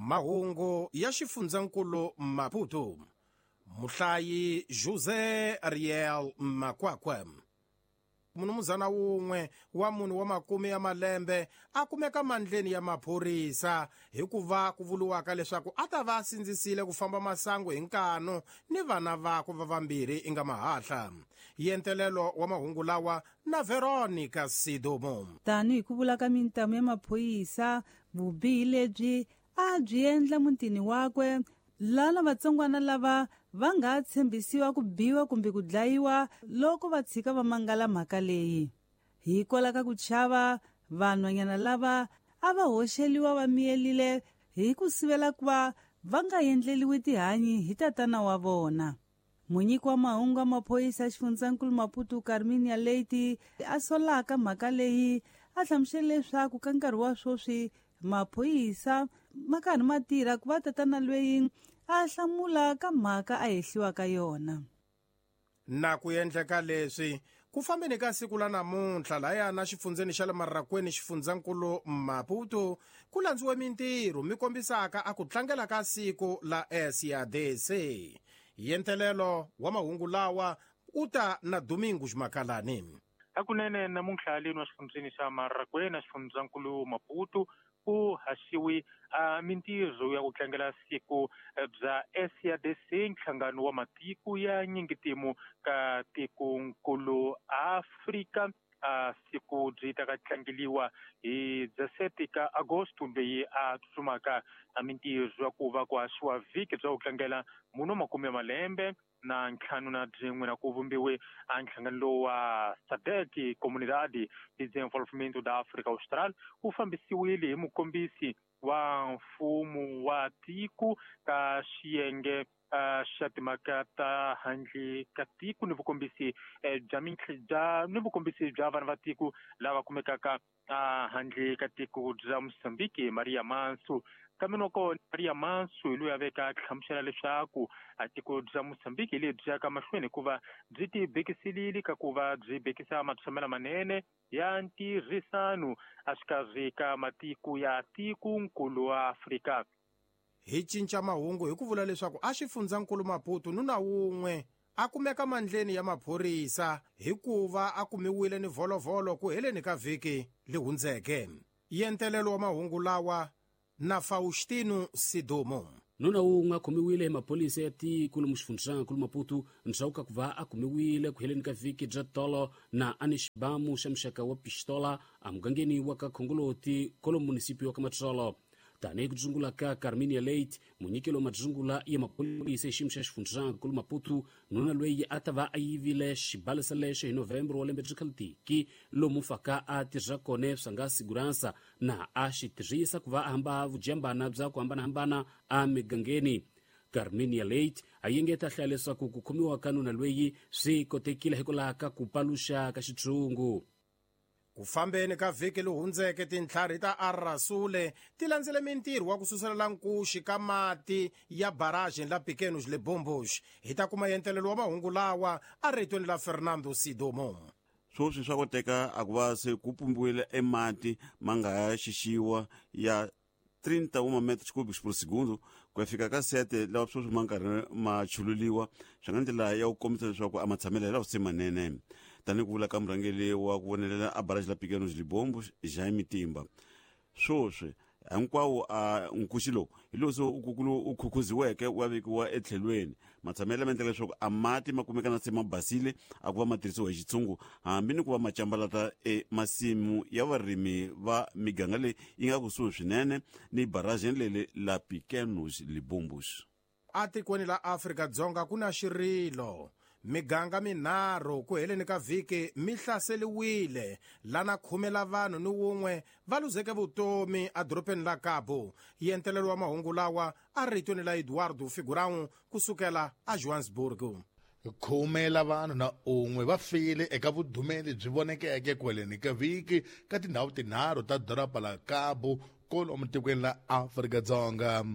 Mahungu ya xifundzankulu Maputo. Muhlayi Jose Ariel Makwakwa. Munumuzana wun'we wa munhu wa makume ya malembe a kumeka mandleni ya maphorisa hikuva ku vuriwaka leswaku a ta va a sindzisile ku famba masangu hi nkanu ni vana vakwe va vambirhi inga mahahla. Yentelelo wa mahungu lawa na Veronica Sidomo. Tanihi ku vula ka mintamu ya maphorisa, vubihi lebyi a byi endla mutini wakwe lana vatsongwana lava va nga tshembisiwa ku biwa kumbe ku dlayiwa loko va tshika va mangala mhaka leyi. Hikwalaho ka ku chava, vanhwanyana lava a va hoxeliwa va miyelile hi ku sivela ku va va nga endleliwi tihanyi hi tatana wa vona. Munyiki wa mahungu ya maphorisa ya xifundzankulu Maputo Carminia Leite a solaka mhaka leyi a hlamusela leswaku ka nkarhi wa sweswi maphorisa ma karhi ma tirha ku va tatana loyi a hlamula ka mhaka a hehliwa ka yona. Na ku endleka leswi ku fambeni ka siku la namuntlha layana xifundzeni xa le Marrakweni xifundzankulu Maputo ku landziwe mintirho mi kombisaka a ku tlangela ka siku la SADC. Yentelelo wa mahungu lawa u ta na Domingos Makalani. Hakunene namuntlha leni wa xifundzeni xa Marrakweni xifundzankulu Maputo ku haxiwi mintirho ya ku tlangela siku bya SADC, nhlangano wa matiko ya nyingitimu ka tikonkulu Afrika. Siku byi ta ka tlangeliwa hi 17 ka Agosto leyi a tsutsumaka mintirho ya ku va ku haxiwa vhiki bya ku tlangela munhu wa makume ya malembe na ntlhanu na byin'we na ku vumbiwe a nhlangano lowu wa SADC, Comunidade de Desenvolvimento da África Austral, wu fambisiwile hi mukombisi wa mfumo wa tiko ka xiyenge xa timhaka ta handle ka tiko ni vukombisi bya bya ni vukombisi bya vanhu va tiko lava kumekaka handle ka tiko bya Mozambique, Maria Manso. Kambe loko Maria Manso hi loyi a veka hlamusela leswaku a tiko bya Mozambique hi lebyi yaka mahlweni hikuva byi ti bekiselile ka ku va byi bekisa matshamelo manene ya ntirhisano exikarhi ka matiko ya tikonkulu wa Afrika. Hi cinca mahungu hi ku vula leswaku a xifundzankulu Maputo nuna wun'we a kumeka mandleni ya maphorisa hikuva a kumiwile ni volovolo ku heleni ka vhiki li hundzeke. Yentelelo wa mahungu lawa na Faustino Sidomo. Nuna wun'we a khomiwile hi maphorisa ya tiko lomu xifundzankulu Maputo ndzhaku ka ku va a kumiwile ku heleni ka vhiki bya tolo na a ni xibamu xa muxaka wa pistola emugangeni wa ka Khongoloti kolomu munisipi wa ka Matsolo. Tanihi ku dzungula ka Carminia Leite, munyikelo wa madzungula ya maphorisa hi xiyimo xa xifundzankulu Maputo, nuna loyi a ta va a yivile xibalesa lexo hi November wa lembe byi khalutiki lomu faka a tirha kona swa nga siguransa na a xi tirhisa ku va a hamba vujambana bya ku hambanahambana emigangeni. Carminia Leite a yengeta hlaya leswaku ku khomiwa ka nuna loyi swi kotekile hikwalaho ka ku paluxa ka xitshungu. Ku fambeni ka vhiki li hundzeke tintlhari ta Arrasule ti landzele mintirho wa ku suselela nkuxi ka mati ya barrage la Pequenos Libombos. Hi ta kuma yentelelo wa mahungu lawa a ritweni la Fernando Sidomo. Sweswi swa koteka a ku va se ku pumbiwile emati ma nga ya xixiwa ya 31 metros cúbicos por segundo ku ya fika ka 7 lawa sweswi ma nkarhi ma chululiwa, swi nga ndlela ya ku kombisa leswaku a matshamelo ya lawa se manene. Tanihi ku vula ka murhangeri wa ku vonelela a barrage la Pequenos Libombos, Jaime Timba, sweswi hinkwawo a nkuxi lowu hi lowu se u khukhuziweke wa vekiwa etlhelweni. Matshamelo ma endla leswaku a mati ma kumeka na se ma basile a ku va ma tirhisiwa hi xitshungu hambi ni ku va ma cambalata emasimu ya varimi va miganga leyi yi nga kusuhi swinene ni barrage leli la Pequenos Libombos. Atikweni la Afrika-Dzonga ku na xirilo. Miganga minharhu ku heleni ka vhiki mi hlaseliwile lana 10 la vanhu ni wun'we va luzeke vutomi edorobeni la Cabo. Yentelelo wa mahungu lawa a ritweni la Eduardo Figurão kusukela a Johannesburg. 10 la vanhu na un'we va file eka vudumeli byi vonekeke kweleni ka vhiki ka tindhawu tinharhu ta doroba la Cabo kolomu tikweni la Afrika-Dzonga.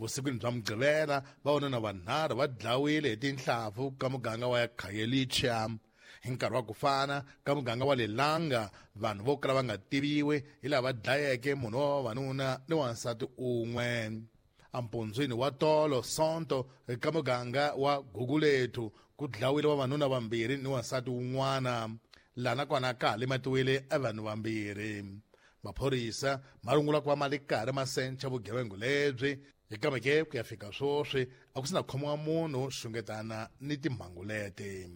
Vusikwini bya Mugqivela vavanuna vanharhu va dlawile hi tinhlampfu ka muganga wa Khayelitsha. Hi nkarhi wa ku fana ka muganga wa Lelanga vanhu vo kala va nga tiviwi hi lava dlayeke munhu wa vavanuna ni wansati un'we. Empundzwini wa tolo Sonto eka muganga wa Gugulethu ku dlawile vavanuna vambirhi ni wansati wun'wana, laha nakona ka ha limatiwile evanhu vambirhi. Maphorisa ma rungula ku va ma li karhi ma sencha vugevenga lebyi, kambe ke ku ya fika swoswi a ku si na khomiwa munhu xungetana ni timhangu leti.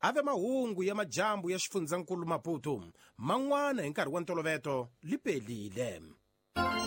Ave mahungu ya majambu ya xifundzankulu Maputo man'wana hi nkarhi wa ntoloveto li pelile.